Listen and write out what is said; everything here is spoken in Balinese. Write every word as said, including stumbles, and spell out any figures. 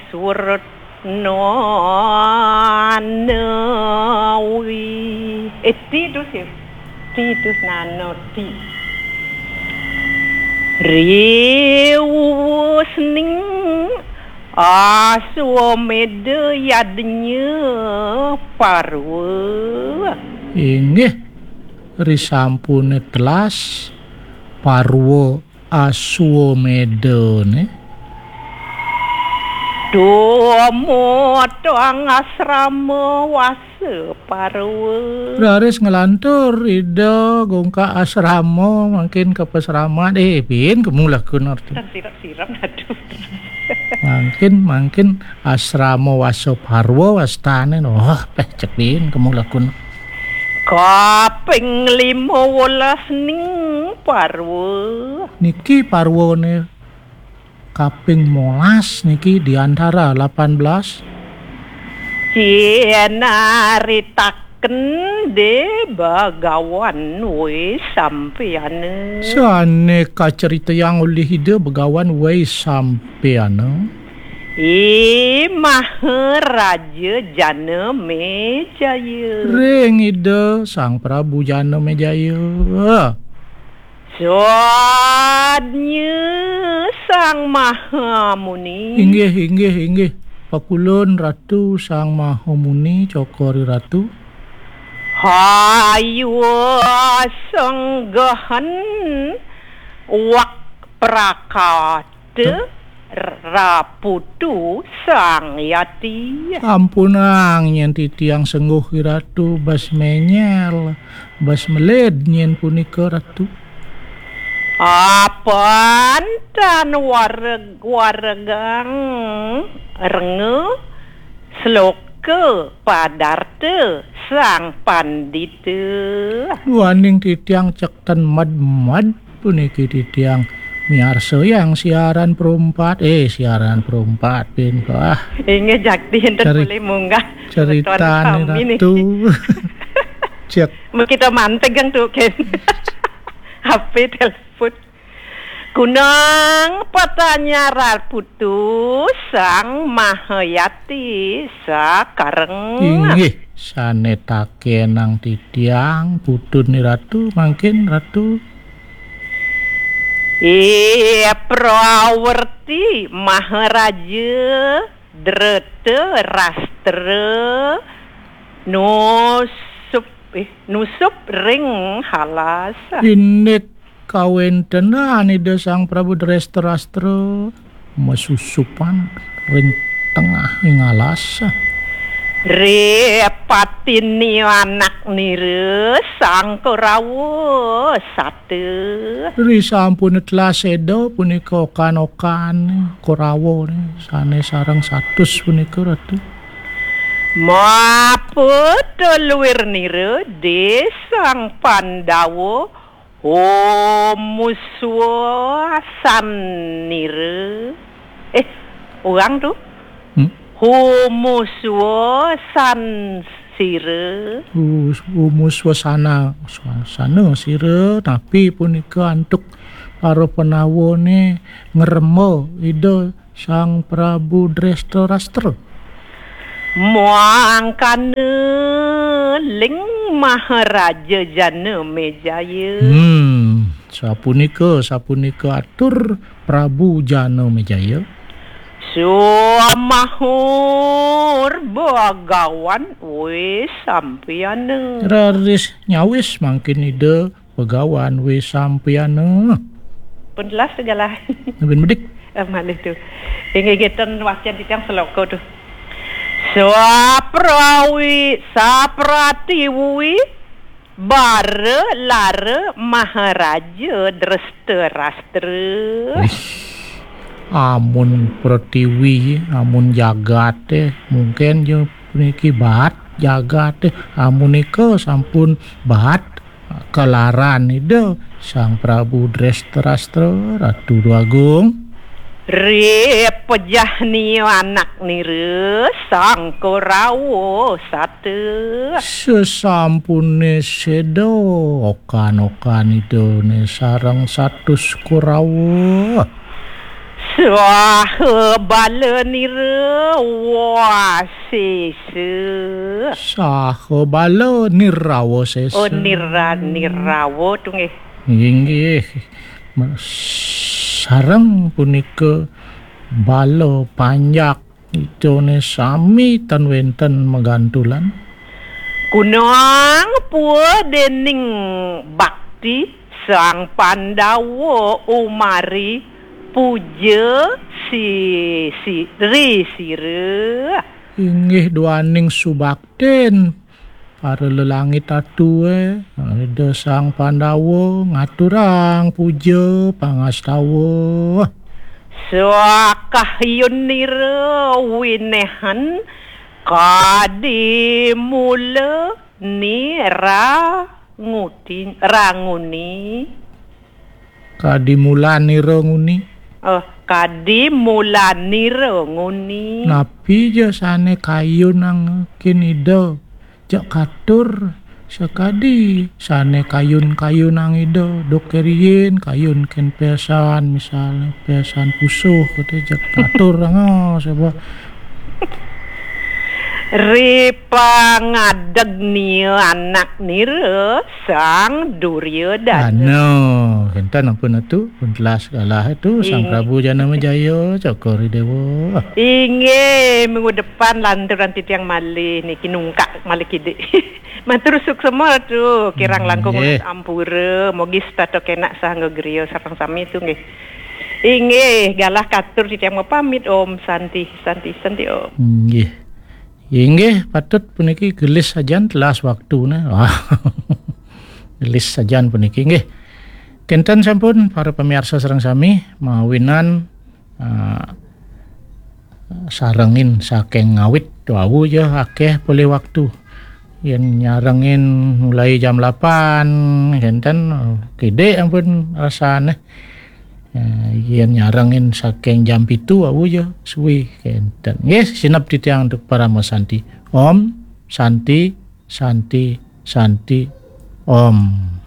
Swerna nawi. Eh, ti tu sih. Ti tu nano ti. Riwusning Aswameda yadnya parwa. Inggih, risampune telas parwa Aswamedane. Dumateng asrama wasa parwa. Raris nglantur Ida gungkak asrama, mangkin ka pasraman, eh, piin kemu lakun arti. Tan sirap-sirap, aduh. Mangkin, mangkin asrama wasa parwa wastane, wah, peh, cek piin kemu lakun. Kaping lima welas ning parwa. Niki parwane kaping molas niki di antara lapan belas. Cinaritaken de Bagawan Wesampayana. Sane kaceritayang olih Ida Bagawan Wesampayana. I Maharaja Janamejaya. Ring Ida Sang Prabu Janamejaya. Sadnya Sang Mahamuni. Inggih, inggih, inggih. Pakulun Ratu Sang Mahamuni, cokor Ratu. Hayuwa senggahan wak prakata raputu Sang Yati. Ampunang nyen titiang sengguh Ratu, bas menyel, bas meled nyen punika Ratu. Apan tan wareg-, waregang renga sloka padarta Sang Pandita. Duaning titiang cek ten med-med puniki titiang miarsayang siaran perumpat, eh, siaran perumpat, pin, ah. Inggih jakti enten Ceri-, boleh munggah. Ceritane sami niki. Ratu. Cek. Kita mantegang tu, Ken. H P telepon. Kunang patanya raputu Sang Mahayati sakareng. Inggih, sane takenang titiang putune Ratu, mangkin Ratu. Iya, Prawerti Maharaja Drata Rastra nusup, eh, nusup ring halas. Indik kawentenan Ida Sang Prabu Dresta Rastra masusupan ring tengahing alas. Ripatini anak nira Sang Korawa sata. Risampun telas seda punika okan-okan Korawa sane sareng satus punika, Ratu. Maput luir nira di Sang Pandawa Homuswa sanira. Eh, orang tu. Hmm? Homuswa sansira. Hus-, humuswasana, swasana sira, tapi punika antuk para penawane ngrema Ida Sang Prabu Dresta Rastra. Mangkana ling Maharaja Janamejaya. Hmm, sapunika, sapunika atur Prabu Janamejaya. Samahur Bagawan Wesampayana. Raris nyawis mangkin Ida Bagawan Wesampayana. Pun jelas tu galah. Nabin bedik. Eh, malih tu. Inggih ngeten wacan titiang seloka tu. Saprawi, sapratiwi, bara lara Maharaja Dresta Rastra. Wih, amun pratiwi, amun jagate, mungkin je puniki baat jagate, amun nika sampun baat kalaran Ida Sang Prabu Dresta Rastra, Ratu Dwagung. Ripejahnia anak nira Sang Korawa sata. Sesampune seda okan-okan Idane sareng satus Korawa. Swaha bala nira wasesa. Saha bala nirawa sesa. Oh, nira-, nirawa tu nggih. Inggih. Sareng punika bala panjak idane sami tan wenten magantulan. Kunang pua dening bakti Sang Pandawa umari puja si, si, ri sira. Inggih duaning subaktin para lelangit atue, Ida Sang Pandawa ngaturang puja pangastawa. Swakahyun nira winehan kadi mula nira nguti-, ranguni. Kadi mulanira nguni. Oh, kadi mulanira nguni. Napi ja sane kayunang kin Ida? Jak katur sakadi sane kayun-kayunang Ida, duk keriin kayun ken pesan, misalnya pesan pusuh, kata jak katur nga saba. Ri pangadeg nia anak nira Sang Duryodana. Ano, kenten ampun atu, pun telas galah atu, Sang Ing- Prabu Jana Majaya, Cokor Dewa. Inggih, minggu depan lanturan titiang malih niki nungkak malih kidik. Matur suksema tu, kirang langkung Nggih. Ampura, mogi setata kenak sahangga griya sareng sami tu nggih. Inggih, galah katur titiang mapamit. Om Santi, Santi, Santi Om. Nggih. Inggih, patut puniki gelis sajan telas waktune. Wah. Gelis sajan puniki nggih. Kenten sampun para pamiarsa sareng sami mawinan, ah, sarengin saking ngawit wau ya akeh polih waktu. Yen nyarengin mulai jam lapan, kenten, kidik ampun rasane. Eh, yen nyarengin saking jam pitu wau ya suwi kenten. Nggih, sineb titiang untuk parama santi. Om Santi, Santi, Santi, Om.